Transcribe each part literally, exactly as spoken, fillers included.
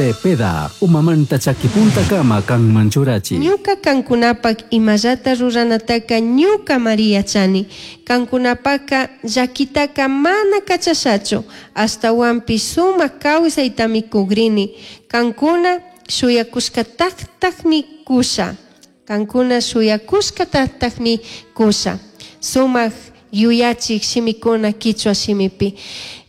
Cepeda, umamanta chakipuntakama kanman churachi. Ñuca cancunapac imallata ruranataca ñucamari yachani. Cancunapaca llaquitaca mana cachashachu, ashtahuanpish sumac causaitami cugrini. Cancuna shuyacushcatactacmi cusha. Cancuna shuyacushcatactacmi cusha. Sumac yuyachik shimikuna quichua shimipi.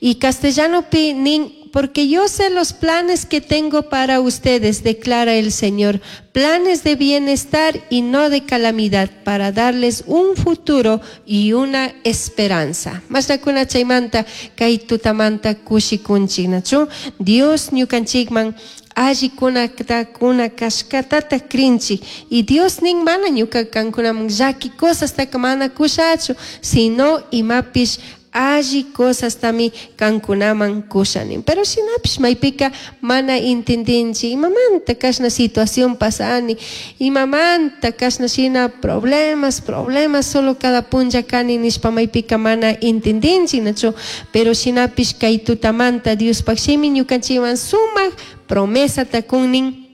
Y castellanopi nin, porque yo sé los planes que tengo para ustedes, declara el Señor, planes de bienestar y no de calamidad, para darles un futuro y una esperanza. Mashnakuna chaymanta kay tutamanta kushikunchik, nachu? Dios ñukanchikman allikunata kuna kashkatata krinchik y Dios nin mana ñuka kankunaman llaki cosastaka mana kushachu, sino imapish alli cosastami kankunaman kushanin. Pero shinapish maypika mana intendinchik imamanta kashna situación pasani, imamanta kashna shina problemas, problemas solo cada punlla kani nishpa maypika mana intendinchik, nachu? Pero shinapish kay tutamanta Diospaj shimi ñukanchikwan sumak promesata kunnin.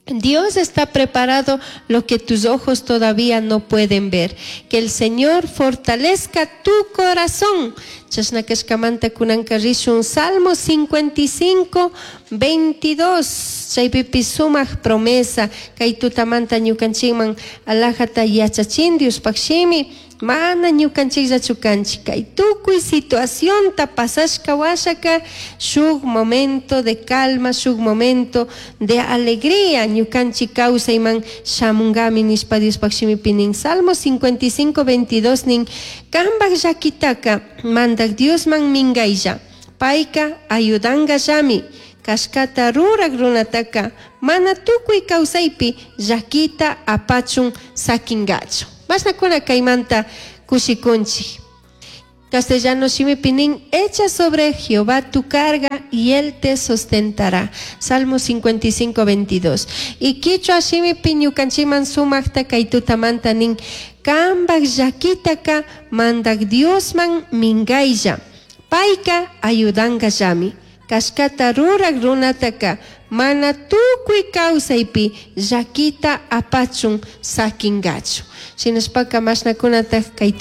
Dios está preparado lo que tus ojos todavía no pueden ver. Que el Señor fortalezca tu corazón. Chashna kashkamanta kunanka rishun Salmo cincuenta y cinco, veintidós. Chaypipi sumak promesa. Kay tutamanta ñukanchikman alajata yachachin Diospaj shimi. Mana ñukanchikllachu kanchik. Kay tukuy situacionta pasashka washaka shuk momento de calma, shuk momento de alegría ñukanchik kawsayman shamunkami nishpa Diospaj shimipi nin. Salmo cincuenta y cinco, veintidós nin, kambaj llakitaka mandak Diosman minkaylla, payka ayudankallami, kashkata rurak runataka mana tukuy kawsaypi llakita apachun sakinkachu. Mashnakuna kaymanta kushikunchik. Castellano shimipi nin, echa sobre Jehová tu carga y él te sustentará. Salmo cincuenta y cinco, veintidós. Y quichua shimipi ñukanchiman sumakta kay tutamanta nin, kambaj llakitaka mandak Diosman minkaylla, payka ayudankallami. Kashkata rurak runataka mana tukuy kawsaypi llakita apachun sakinkachu. Shinashpaka mashnakunataj kay